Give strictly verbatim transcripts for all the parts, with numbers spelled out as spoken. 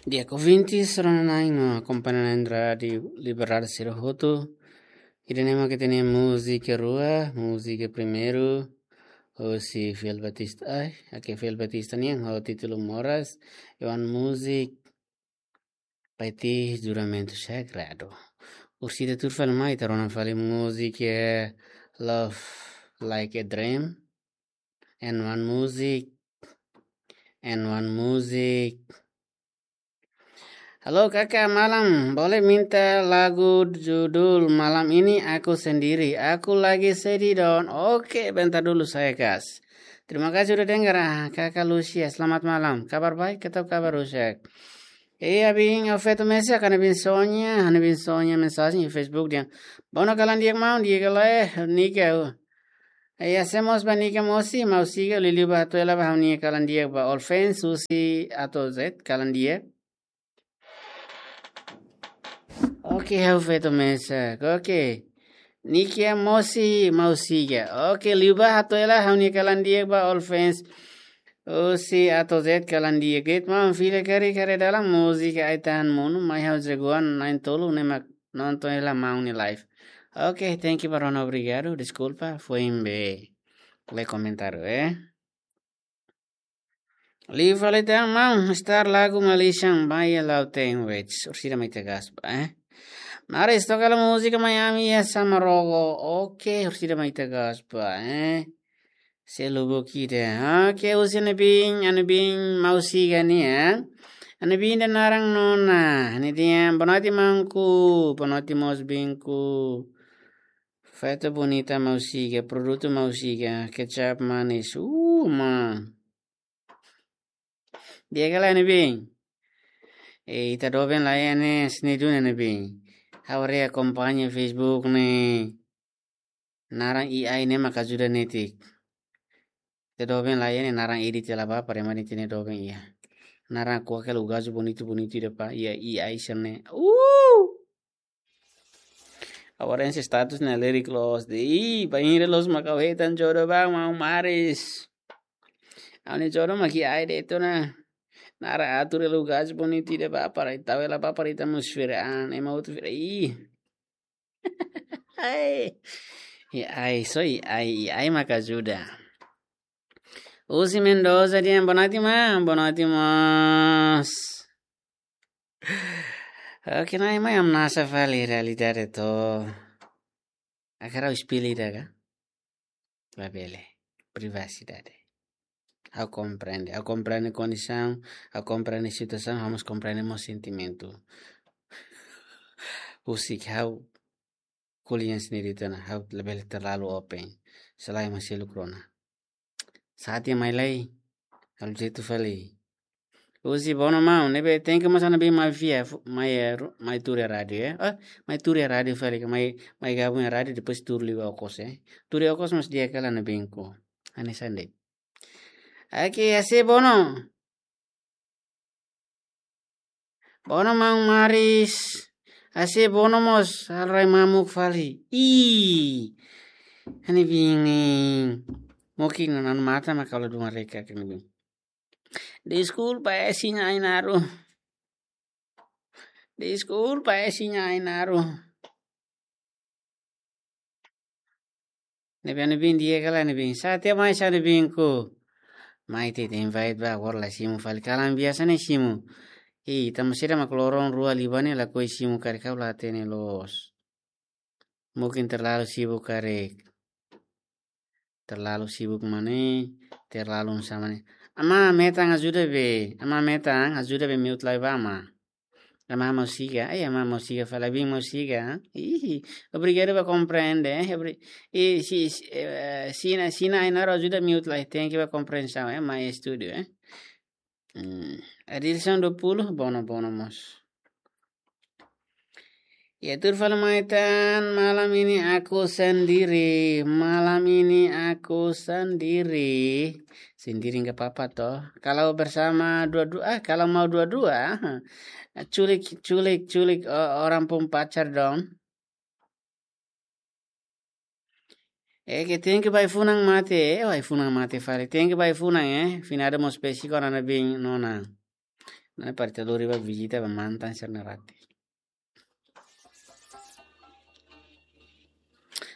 Di'ak, ouvintes, rona-na'in no akompaña na'in Rádiu Liberdade sira hotu. Ida-ne'e mak ita-nia múzika rua, múzika primeiru, hosi Fiel Batista, ai, oke, Fiel Batista nian, ho títulu Moras, i oan múzika Paiti Juramentu Sagradu. Orsida tuur fali mai, ita rona fali múzika Love Like a Dream. And one music. And one music. Halo kakak, malam. Boleh minta lagu judul Malam Ini Aku Sendiri. Aku lagi sedih, Don. Oke, bentar dulu saya kas. Terima kasih udah dengar, ah, kakak Lucia. Selamat malam. Kabar baik atau kabar rusak? Iya, bin, afeto mesa, kana bin Sonia, kana bin Sonia mensajen di Facebook dia. Bono kalan dia mau, dia kala eh, nika. Iya, sé mós ba nika mosi, mau siga, liuliu ba hato'o hela ba ha'u-nia kalan dia ba All Fans, husi A to'o Z, kalan dia. Oke, ha'u feto mesak. Oke. Nika mosi mau siga. Oke, liu ba hato'o hela ha'u-nia kalan dia ba All Fans. Husi A to'o Z kalan dia. Get mau fila kari kare dalam múzika Ai Tahan Monu, mai ha'u jagoan na'in tolu ne'e mak nonton hela maun nia live. Oke, thank you ba rona, obrigadu. Deskulpa, foin be. Lé komentáriu, eh. Liu fali tan maun, star lagu Malaysian Baia Lauteng Wets. Orsida mai ita gas ba, eh. Maris, toka hela múzika Miami ya sama Rogo. Oke, orsida mai ita gas ba, eh. Sé lubuk ida. Oke, husi Ana Bin, Ana Bin mau siga nian. Ana Bin ida naran nona. Ne'e dehan, boa noite maunku, boa noite mós binku. Feto bonita mau siga, produtu mau siga, kecap manis. Uh, ma. Di'ak kala Ana Bin. Eh, ita doben la ya ne sini dun Ana Bin. Ha'u haree akompaña Facebook ne'e. Naran I A ne'e mak ajuda netik. Ita doben la ya ne naran edit hela ba, para ema netik ne'e doben iha. Naran ko'alia hela gajo bonitu-bonitu ida pa, iha I A sira ne'e. Uh! Agora esse status na lyric los de, ih, bainhira los mak ha'u hetan jodoh ba, maun Maris. Ha'u-nia jodoh mak I A de'it ona. Naran atur hela gajo bonitu ida ba, para ita hela ba, para ita atmosfera an, ema hotu fira, ih. Ai. I A, só I A, I A mak ajuda. Husi Mendoza dehan, boa noite maun, boa noite mós. Oke, nai mai hamnasa fali realidade to. Hakarak ha'u espellu ida ka? Labele. Privasidade. Ha'u komprende, ha'u komprende kondisaun, ha'u komprende situasaun, ha'u mós komprende mós sentimentu. Husik ha'u ko'alia sendiri tiha ona, ha'u labele terlalu open. Selae ema seluk rona. Sa'e tiha mai lai, halo jeitu fali. Husi Bono maun, ne'ebé thank you mós Ana Bin mai via, fu-, mai, eh, ru-, mai tuur iha rádiu, eh. Ah, mai tuur iha rádiu fali, ka mai, mai gabung iha rádiu, depois tuur liu okos, eh. Tuur liu okos mós di'ak kala Ana Binku. Hanesan de'it. Oke, hase'e Bono. Bono maun Maris. Hase'e Bono mós halo rai mamuk fali. Ih. Ana Bin ne'e. Mungkin nanu mata mak halo dua mereka kena bin. Deskulpa, eh, siña Ainaro. Deskulpa, eh, siña Ainaro. Ne'ebé Ana Bin di'ak kala Ana Bin. Sa'e tiha mai sa Ana Binku. Mai te te invite ba, agora la simu fali. Kalan biasa ne'e simu. Ih, ita mós sira mak loron rua liubá ne'e lakohi simu karik ha'u la hatene loos. Mungkin terlalu sibuk karik. Terlalu sibuk mane, terlalu sama ne'e. Ama metan ajuda be, ama metan ajuda be mute lai ba ama. Ama mau siga, ai ama mau siga fali, Ana Bin mau siga. Ih, obrigadu ba komprende, eh. Obri-, i si, si, eh, siña, siña Ainaro ajuda mute lai, thank you ba komprensaun, eh, mai estúdiu, eh. Hmm, Adilson dua puluh, Bono, Bono mós. Ya, tuur fali mai tan, malam ini aku sendiri, malam ini aku sendiri. Sendiri enggak apa-apa toh. Kalau bersama dua-dua, ah, kalau mau dua-dua, culik, culik, culik, o-, orang pun pacar dong. Eh, ke thank you ba ai-funan mate, eh, ai-funan mate fali. Thank you ba ai-funan, eh. Finada mós pesi ko Ana Bin nona. Ne'e para ita lori ba vizita ba mantan sira-nia rate.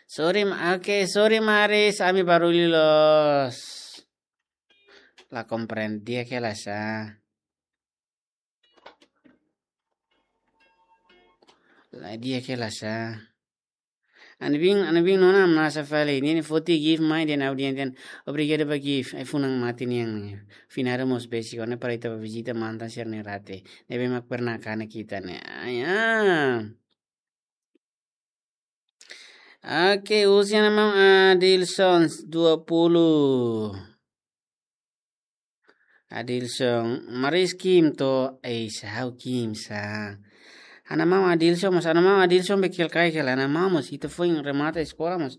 Sorry, ma-, oke, sorry, Maris, ami barullu loos. La komprende di'ak hela sá. La di'ak hela sá. Ha'u-nia biin, ha'u-nia biin nona masa fali. Nia foti gift mai dehan audiénsia. Obrigadu ba gift. Ai-funan mate nian. Finada mós besik ona para ita ba vizita mantan sira-nia rate. Ne'ebé mak pernah kanek ita ne'e. Ai, ah. Oke, husi Ana Maun Adilson dua puluh. Adilson, Maris ki'ik to'o, eh, sá ha'u ki'ik sá. Ana Maun Adilson, mas Ana Maun Adilson be ki'ik karik hela, Ana Maun mas ita foin remata eskola mas.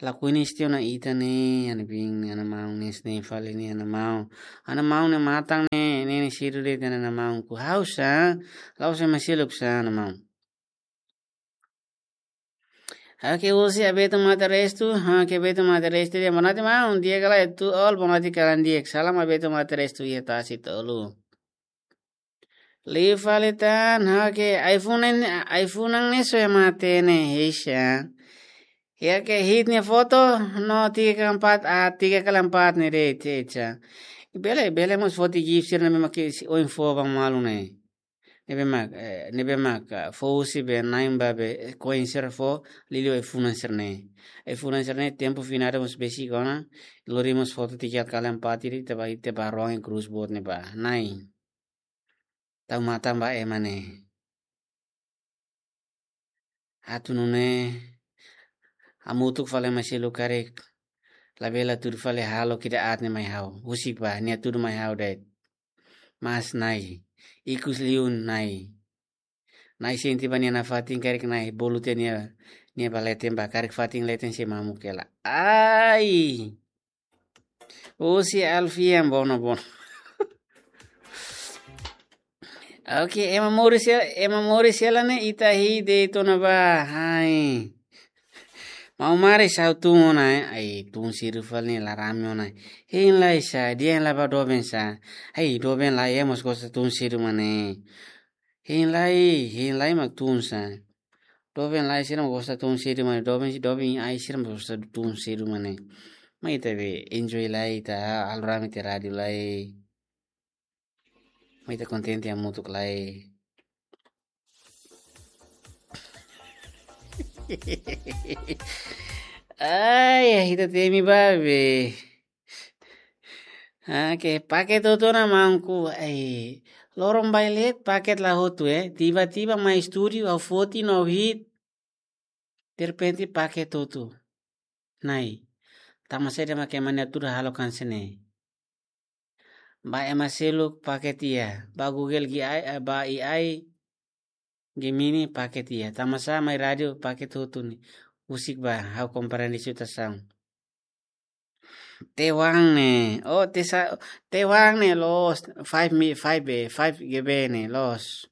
Lakohi ne'e istiona ita ne'e, ha'u-nia biin, Ana Maun ne'e, ne'e fali ne'e, Ana Maun. Ana Maun ne'e matan ne'e, ne'e, ne'e seidauk dehan Ana Maun ku ha'u sá, la'ós ema seluk sá, Ana Maun. Oke, husi Abeto Mate Restu, oke, Abeto Mate Restu, dehan boa noite, maun, di'ak ka lae, tuir ol, boa noite, kalan di'ak, salam Abeto Mate Restu, iha Tasi Tolu. Liu fali tan, oke, ai-funan, ai-funan ne'e só ema hatene, heisa. Iha ke hit nia foto, no tiga kali empat, ah, tiga kali empat ne'e de'it, heisa. Bele, bele mós foti gift sira-ne'ebé mak ohin fó ba malu ne'e. Ne'ebé mak, eh, ne'ebé mak, ah, fó husi be na'in ba be, eh, koin sira fó, liuliu ai-funan sira-ne'e. Ai-funan sira-ne'e tempu finada mós besik ona, lori mós foto tiga kali empat ida, ita ba, ita ba ruang krús boot ne'ebá. Nai. Tau matan ba ema ne'e. Atu nune'e, hamutuk fali ema seluk karik, labele hatudu fali hahalok ida aat ne'e mai ha'u. Husik ba, nia hatudu mai ha'u de'it. Mas Nai, ikus liu Nai. Nai sente ba nia nafatin karik Nai bolu tiha nia, nia ba leten ba karik fatin leten sei mamuk hela. Ai! Husi Alfian bono bono. Oke, ema moris hela, ema moris hela ne'e ita hii de'it ona ba, hai. Maun Maris ha'u tun ona, eh. Ai, tun seidauk fali ne'e la rame ona. Hein lai sá, dehan lai ba doben sá. Ai, doben lai ema mós gosta tun seidauk mak ne'e. Hein lai, hein lai mak tun sá. Doben lai sira mós gosta tun seidauk mak ne'e. Doben, doben ai sira mós gosta tun seidauk mak ne'e. Mai ita be enjoy lai ita halo rame tiha rádiu lai. Mai ita kontente hamutuk lai. Ai, ita temi ba be. Oke, paket hotu ona maun ku. Ai, loron bailet paket la hotu, eh. Tiba-tiba mai estúdiu, ha'u foti no hit. Derrepente paket hotu. Nai. Tanba saida mak ema nia hatudu halo kan sene. Ba ema seluk paket iha. Ba Google gi ai, eh, ba A I Gemini paket iha. Tanba sá mai rádiu paket hotu ne'e. Husik ba, ha'u komprende situasaun. Taiwan ne'e. Oh, tesa-, Taiwan ne'e loos. Five mi-, five B, five G B ne'e loos.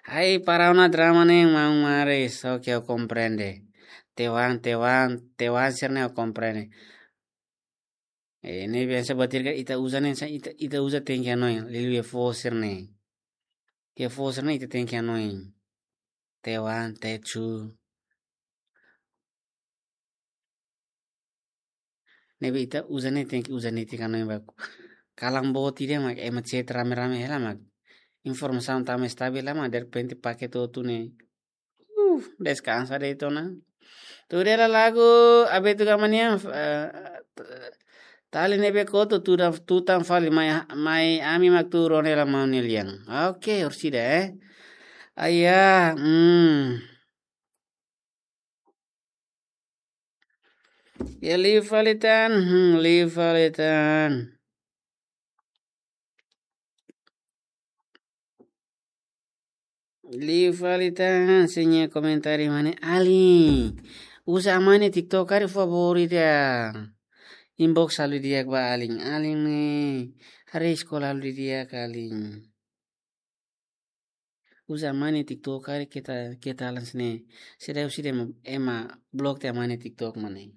Ai, para ona drama ne'e, maun Maris. Oke, ha'u komprende. Taiwan, Taiwan, Taiwan sira-ne'e ha'u komprende. Eh, ne'e biasa batir ka ita uza ne'e, sa ita, ita uza tenke hanoin, liuliu iha foho sira-ne'e. Iha foho sira-ne'e ita tenke hanoin. Taiwan, Tetsu. Ne'ebé ita uza ne'e tenke uza netik hanoin baku. Kalan boot ida mak ema chat rame-rame hela mak. Informasaun tama estabil la mak derrepente paket hotu ne'e. Uh, deskansa de'it ona. Tuir hela lagu Abeto Gama nian, eh, t-, tali ne'ebé kotu tuda tutan fali mai, mai ami mak tuur ona hela maun nia lian. Oke, orsida, eh. Aya, hmm. Ya, liu fali tan, hmm, liu fali tan. Liu fali tan, sira-nia komentáriu mak ne'e alin. Uza aman nia TikTok karik favóritu ya. Inbox halo di'ak ba alin. Alin ne'e, haree eskola halo di'ak alin. Uza aman nia TikTok karik keta, keta alan sene. Sira, sira ema, ema blok tiha aman nia TikTok mak ne'e.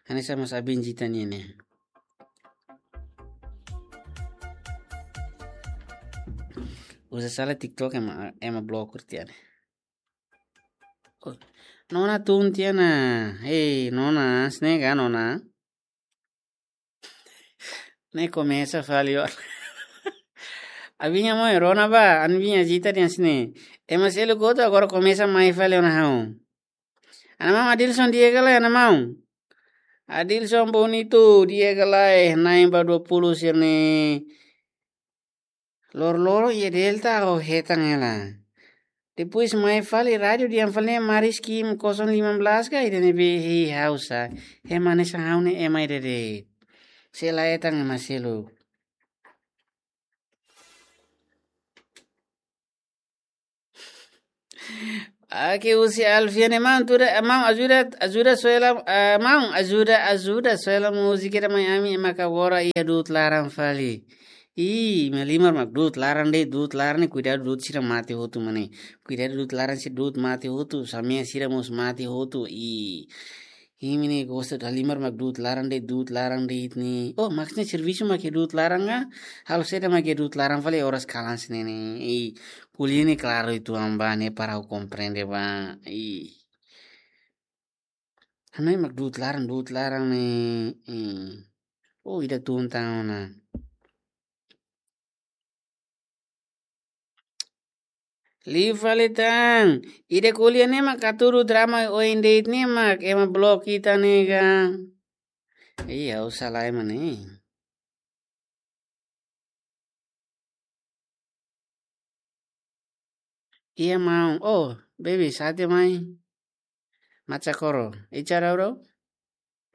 Hanesan mós abin jita nian ne'e. Uza sala TikTok ema, ema bloku tiha ne'e. Oh, nona tun tiha ona. Hei, nona, hanesan ne'e ka nona? Ne'e komesa fali ona. Abinya mo rona ba, abinya jita tiha hanesan ne'e. Ema seluk hotu agora komesa mai fali ona ha'u. Ana maun Adilson di'ak ka lae, ana maun? Adilson Bonito di'ak ka lae, na'in ba dua puluh sira-ne'e. Lor-lor iha Delta ha'u hetan hela. Depois mai fali rádiu dehan fali ne'e Maris Kim kosong lima belas ka ida-ne'ebé, hei ha'u sa. Ema hanesan ha'u ne'e ema ida de'it. Sei la hetan ema seluk. Oke, husi Alfiane, maun, tuda, maun, ajuda, ajuda Soela, ah, maun, ajuda, ajuda Soela múzika ida mai ami, ema agora iha du'ut laran fali. Ih, ema Limar mak du'ut laran de'it, du'ut laran ne'e, kuidadu du'ut sira mate hotu mane. Kuidadu du'ut laran sira du'ut mate hotu, samea sira mós mate hotu. Ih, imi ne'e gosta dala Limar mak du'ut laran de'it, du'ut laran de'it ne'e. Oh, maksudnya servisu mak iha du'ut laran ka? Halo saida mak iha du'ut laran fali oras kalan hanesan ne'e. Ih, ko'alia ne'e klaru uitoan ba ne'e para ha'u komprende ba. Ih. Hanoin mak du'ut laran, du'ut laran ne'e. Ih. Oh, ida tun tan ona. Liu fali tan. Ida ko'alia ne'e mak hatudu drama oin de'it ne'e mak ema blok ita ne'e ka. Iya, ha'u sala ema ne'e. Iya, maun. Oh, baby, sate mai. Macha koro. Ichara bro?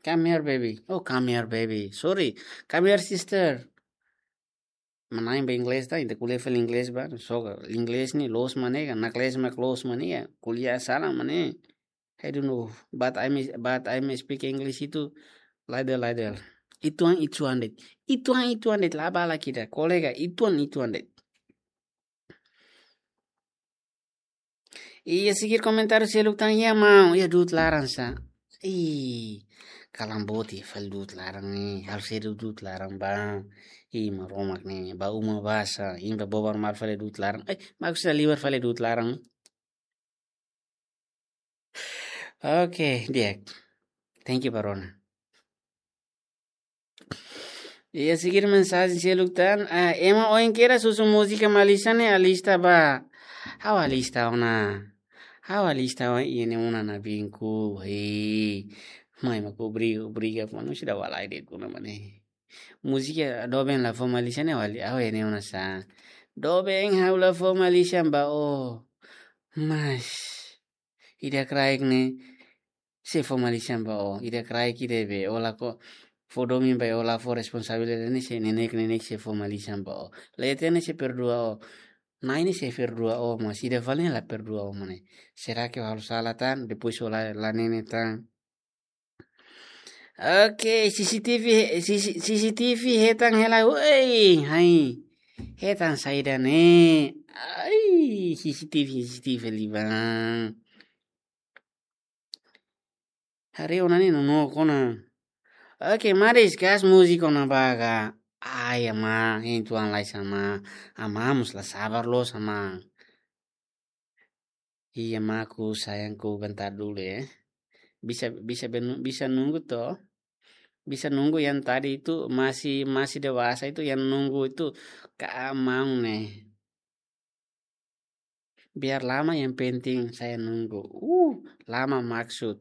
Come here, baby. Oh, come here, baby. Sorry. Come here, sister. Manain ba inglés ta, ita ko'alia fali inglés ba. So, inglés ne'e loos mak ne'e ka, nakles mak loos mak ne'e ka. Ko'alia sala mak ne'e. I don't know, but I'm, but I'm speak English itu, laidel, laidel. Ituan, ituan de'it. Ituan, ituan de'it. La bala kida, kolega, ituan, ituan de'it. Iha seguir komentáriu seluk tan iha maun, iha du'ut laran sa. Ih, kalan boot iha fali du'ut laran ne'e, halo saida du'ut laran ba. Ih, Maromak ne'e, ba uma ba sa, imi ba bobar malu fali du'ut laran. Eh, maksudnya libar fali du'ut laran. Oke, di'ak. Thank you, Barona. Iha seguir mensajen seluk tan, ah, ema oin kedas husu múzika Malisan ne'e alista ba. Ha'u alista ona. Ha'u alista ona iha ne'e ona na binku. Hei. Mai mak obriga, obriga, manu sida walai de'it ona mak ne'e. Múzika doben la fó Malisan ne'e wali, ha'u iha ne'e ona sa. Doben ha'u la fó Malisan ba o. Mas. Ida kraik ne'e, sei fó Malisan ba o. Ida kraik ida be, o la ko, fó domin ba o la fó responsabilidade ne'e sei neineik, neineik sei fó Malisan ba o. Leten ne'e sei perdua o. Na'i ne'e sei perdua o, mas ida fali ne'e la perdua o mak ne'e. Será que halo sala tan, depois o la, la nene tan. Oke, C C T V, C C, C C T V hetan hela, woi, hai. Hetan saida ne'e. Ai, C C T V, C C T V liban. Haree ona ne'e nonook ona. Oke, maris gas múzika ona ba ka. Ai, ama, hein tuan lai sama. Ama mós la sabar loos ama. Iya, maku, sayangku, bentar dulu ya. Bisa, bisa benu-, bisa nunggu toh. Bisa nunggu yang tadi itu masih, masih dewasa itu, yang nunggu itu keamang nih. Biar lama yang penting saya nunggu. Uh, lama maksud.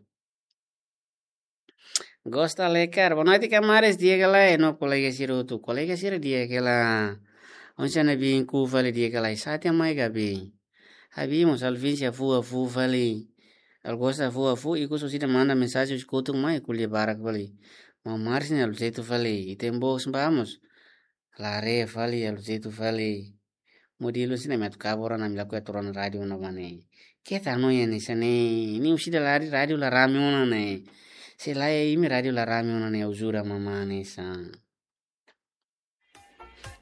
Gosta Lekar, boa noite, kamares, di'ak ka lae, no kolega sira hotu, kolega sira di'ak ka lae. Oinsá ne'ebé ku fali di'ak ka lae, sate mai gabi. Abi mós Alvin se afu afu fali. Al gosta afu afu, ikus orsida manda mensajen husi kotuk mai, ko'alia barak fali. Maun Maris ne'e aluseitu fali, ita-nia bos ba mós. Lare fali, aluseitu fali. Modelu sira-ne'e mak atu kabur ona, ami lakohi atu rona rádiu ona ba ne'e. Keta no ya ne'e sa ne'e. Ne'e orsida lari rádiu la rame ona ne'e. Se lae imi rádiu la rame ona ne'e, ajuda mamá ne'e sa.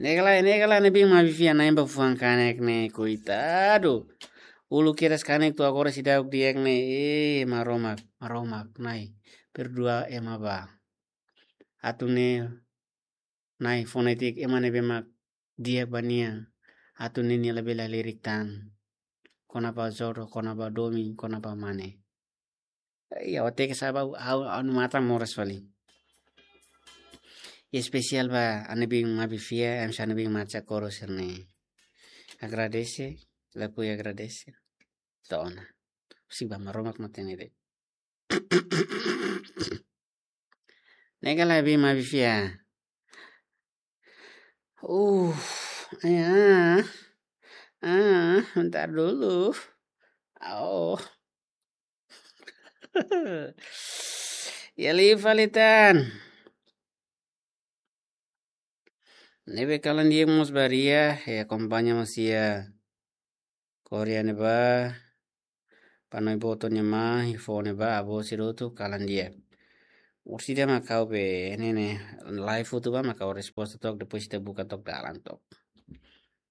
Ne'e ka lae, ne'e ka lae ne'ebé mak bifi ana emba fuan kanek ne'e, koitadu. Uluk kedas kanek to'o agora seidauk di'ak ne'e. Eh, Maromak, Maromak, Na'i. Perdua ema ba. Atu ne'e Na'i, fonétika ema ne'ebé mak di'ak ba nia. atu ninia labele halerik tan. Kona-ba jodoh, kona-ba domin, kona-ba mane. Iya, ote ke saba au anu matan moras fali. Espesiál ba ami-nia biin Mabi Fiar, em sa ami-nia biin Marcha Coro sira-ne'e. Agradese, lakohi agradese. To'o ona. Husi ba Maromak no tenede. Nega la biin Mabi Fiar. Uh, ya. Ah, bentar dulu. Oh. Ya liu fali tan. Ne'ebé kalan di'ak mós ba Ria, ya akompaña mós iha Korea ne'ebá, Panoi Boto nia mãe, iha foho ne'ebá, avó sira hotu kalan di'ak. Orsida mak ha'u be, ne'e ne'e, live hotu ba mak ha'u resposta to'ok, depois ita buka to'ok dalan to'ok.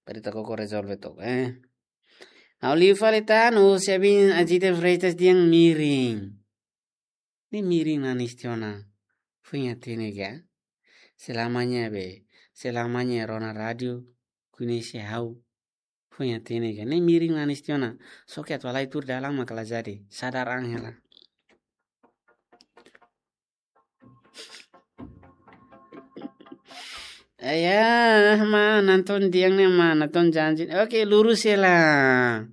Para ita koko rezolve to'ok, eh. Ha'u liu fali tan, husi ami-nia Ajita Freitas dehan miring. Ne'e miring nanis tiha ona. Foin hatene ka? Selamanya be, selamanya rona rádiu, koñese ha'u. Foin hatene ka? Ne'e miring nanis tiha ona. Só ke atu halai tuur dalan mak la jadi. Sadar an hela. Ayah, ma, nonton diang ne, ma, nonton janji. Oke, lurus ya lah.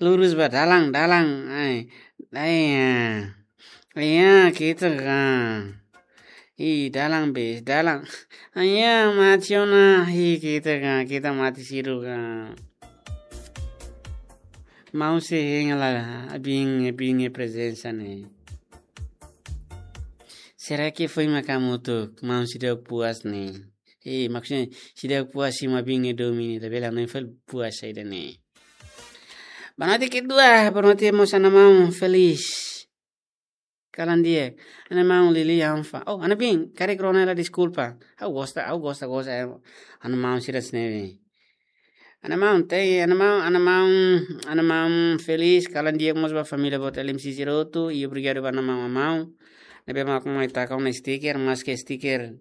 Lurus ba, dalan, dalan. Ai, ai, ya. Iya, kita kan. Ih, dalan, bis, dalan. Ayah, mati ona. Ih, kita kan, kita mati siru kan. Maun sei hein hela biin, biin prezensa ne'e. Será que foin mak hamutuk, maun seidauk puas ne'e? Eh, maksudnya, seidauk puas simu biin domin ne'e, labele hanoin fali puas saida ne'e. Boa noite kedua, boa noite mós ha'u-nia maun Felis. Kalan di'ak, ha'u-nia maun Lili Anfa. Oh, ha'u-nia biin, karik rona hela deskulpa. Ha'u gosta, ha'u gosta, gosta, eh, ha'u-nia maun sira hanesan ne'e. Ha'u-nia maun, te, ha'u-nia maun, ha'u-nia maun, ha'u-nia maun Felis, kalan di'ak mós ba família boot L M C sira hotu, i obrigadu ba ha'u-nia maun Amau. Ne'ebé mak mai taka ona stiker, maske stiker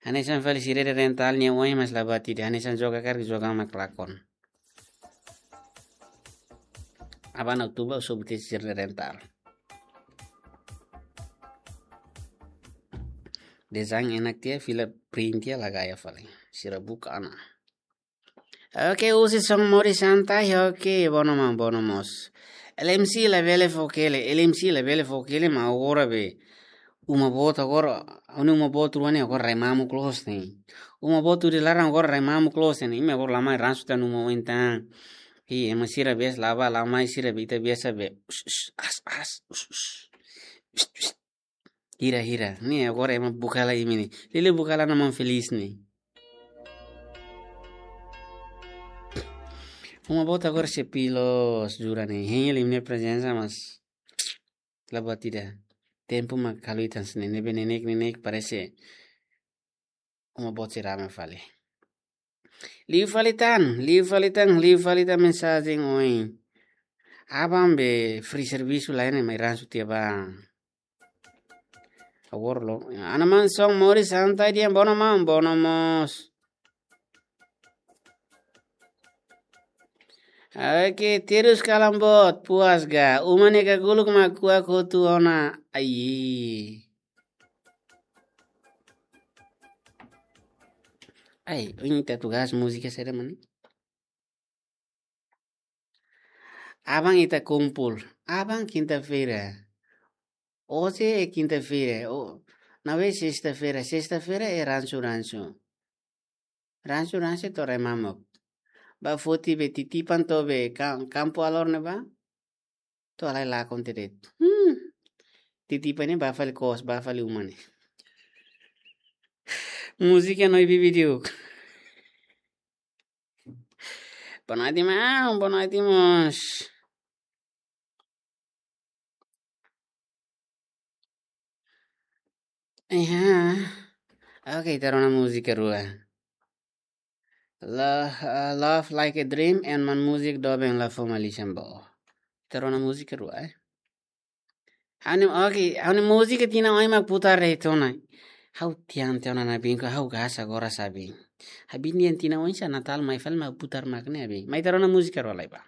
hanesan fali sira-nia rental nia oin, mas la buat ida, hanesan joga karik joga mak lakon. Aban outubru sob te sira-nia rental. Desain enak tiha, fila print tiha, la gaya fali. Sira buka ona. Oke, husi son moris santai, oke, bono maun, bono mós. L M C labele fó kele, L M C labele fó kele, maun agora be. Uma boot agora, ha'u-nia uma boot rua ne'e agora rai mamuk loos ne'e. Uma boot hodi laran agora rai mamuk loos ne'e, imi agora la mai ransu tiha ha'u-nia uma oin tan. Ih, ema sira biasa la bá la mai sira be ita biasa be. Us, us, as, as, us, us. Us, us. Hira, hira. Ne'e agora ema buka hela imi ne'e. Lili buka hela ha'u-nia maun Felis ne'e. Uma boot agora sei pilos, jura ne'e. Hein hela imi-nia prezensa, mas la buat ida. Tempu mak halo ita hanesan ne'e, ne'ebé neineik, neineik parese uma boot sei rame fali. Liu fali tan, liu fali tan, liu fali tan mensajen oin. Aban be free servisu la iha ne'e, mai ransu tiha ba. Agora lo. Ha'u-nia maun son moris santai dehan bono maun, bono mós. Oke, terus kalan boot, puas ga. Uma ne'e ka guluk mak kuak hotu ona. Ai. Ai, ohin ita tugas múzika saida mak ne'e? Aban ita kumpul. Aban kinta-feira. Hoje é quinta-feira. O, não é sexta-feira. Sexta-feira é ransu-ransu. Ransu-ransu to'o rai mamuk. Bá foti be titipan to'o be ka-, kampu alor ne'ebá. To'o halai lakon tiha de'it. Hmm. Titipan ne'e bá fali kos, bá fali uma ne'e. Múzika no ibi vídeo. Boa noite, maun. Boa noite, mós. Iha. Oke, ita rona múzika rua. Lo-, eh, Love Like a Dream, en man múzika doben la fó malícia ba. Ita rona múzika rua, eh. Ha'u-nia, oke, ha'u-nia múzika tinan oin mak putar de'it ona. Ha'u tian tian ona na bin ko ha'u gas agora sabi. Habin nian tinan oinsá Natál mai fali mak putar mak ne'e bin. Mai ita rona múzika rua lai ba.